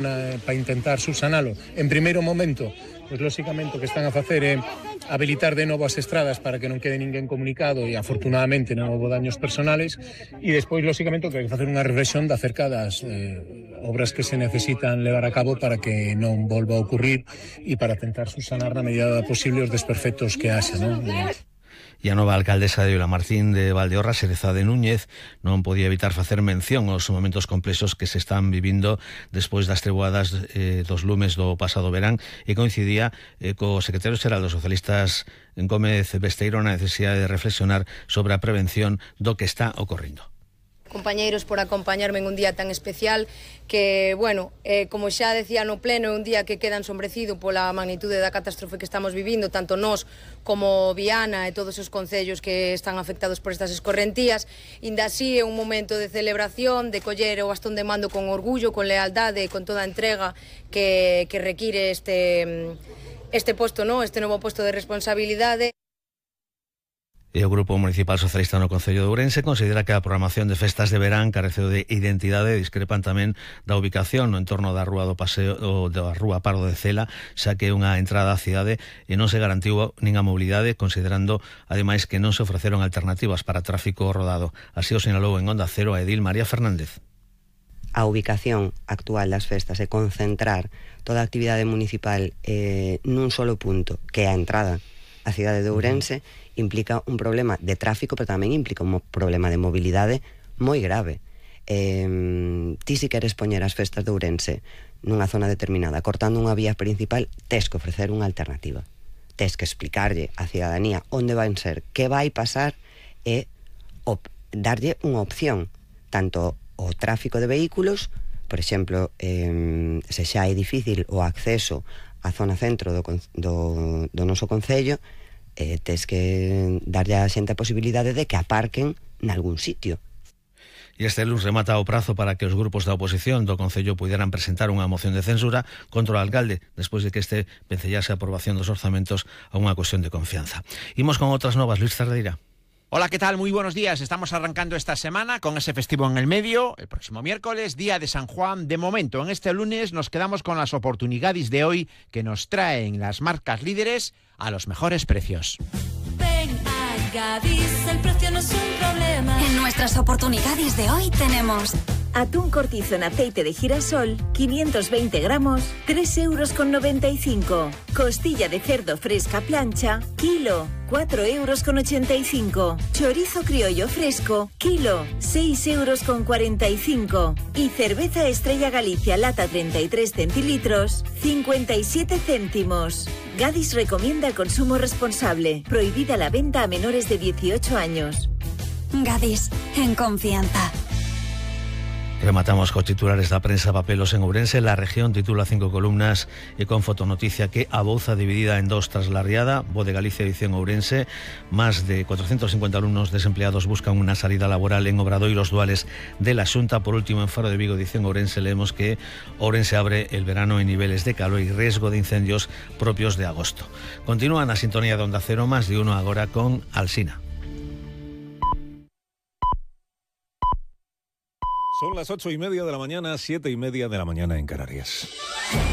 para intentar subsanalo. En primeiro momento, pois lóxicamente o que están a facer é habilitar de novo as estradas para que non quede ninguén comunicado e afortunadamente non houbo daños personales, e despois lóxicamente o que hai que facer unha reflexión de acerca das obras que se necesitan levar a cabo para que non volva a ocurrir e para tentar subsanar na medida posible os desperfectos que haxa, non? E a nova alcaldesa de Vilamartín de Valdeorras, Xerezade Núñez, non podía evitar facer mención aos momentos complexos que se están vivindo despois das treboadas dos lumes do pasado verán, e coincidía co secretario xeral dos socialistas Gómez Besteiro na necesidade de reflexionar sobre a prevención do que está ocorrendo. Compañeiros, por acompañarme en un día tan especial que, bueno, como xa decía no pleno, é un día que queda ensombrecido pola magnitude da catástrofe que estamos vivindo, tanto nós como Viana e todos os concellos que están afectados por estas escorrentías. Inda así é un momento de celebración, de coller o bastón de mando con orgullo, con lealdade e con toda a entrega que require este posto, ¿no? Este novo posto de responsabilidade. E o Grupo Municipal Socialista no Concello de Ourense considera que a programación de festas de verán careceu de identidade e discrepan tamén da ubicación no entorno da Rúa do Paseo ou da Rúa Pardo de Cela, xa que é unha entrada á cidade e non se garantiu nin a mobilidade, considerando ademais que non se ofreceron alternativas para tráfico rodado. Así o sinalou en Onda Cero a edil María Fernández. A ubicación actual das festas é concentrar toda a actividade municipal nun solo punto, que é a entrada á cidade de Ourense, implica un problema de tráfico, pero tamén implica un problema de mobilidade moi grave. Ti si queres poñer as festas de Ourense nunha zona determinada, cortando unha vía principal, tes que ofrecer unha alternativa. Tes que explicarlle á cidadanía onde van ser, que vai pasar e darlle unha opción, tanto o tráfico de vehículos, por exemplo, se xa é difícil o acceso á zona centro do noso concello, tes que darlle a xente a posibilidade de que aparquen nalgún sitio. E este lunes remata o prazo para que os grupos da oposición do Concello puderan presentar unha moción de censura contra o alcalde, despois de que este vencellase a aprobación dos orzamentos a unha cuestión de confianza. Imos con outras novas, Luis Cerdeira. Hola, ¿qué tal? Muy buenos días. Estamos arrancando esta semana con ese festivo en el medio. El próximo miércoles, día de San Juan. De momento, en este lunes nos quedamos con las oportunidades de hoy que nos traen las marcas líderes a los mejores precios. Ven a Gadis, el precio no es un problema. En nuestras oportunidades de hoy tenemos atún cortizo en aceite de girasol, 520 gramos, 3,95 €. Costilla de cerdo fresca plancha, kilo, 4,85 €. Chorizo criollo fresco, kilo, 6,45 €. Y cerveza Estrella Galicia lata 33 centilitros, 57 céntimos. Gadis recomienda el consumo responsable. Prohibida la venta a menores de 18 años. Gadis, en confianza. Rematamos con titulares da prensa papelos en Ourense. La región titula 5 columnas e con fotonoticia que a Bouza dividida en dos tras la riada. Voz de Galicia, edición Ourense. Más de 450 alumnos desempleados buscan una salida laboral en obradoiros duales de la Xunta. Por último, en Faro de Vigo, edición Ourense, leemos que Ourense abre el verano en niveles de calor y riesgo de incendios propios de agosto. Continúan a sintonía de Onda Cero, más de uno agora con Alsina. Son las 8:30 de la mañana, 7:30 de la mañana en Canarias.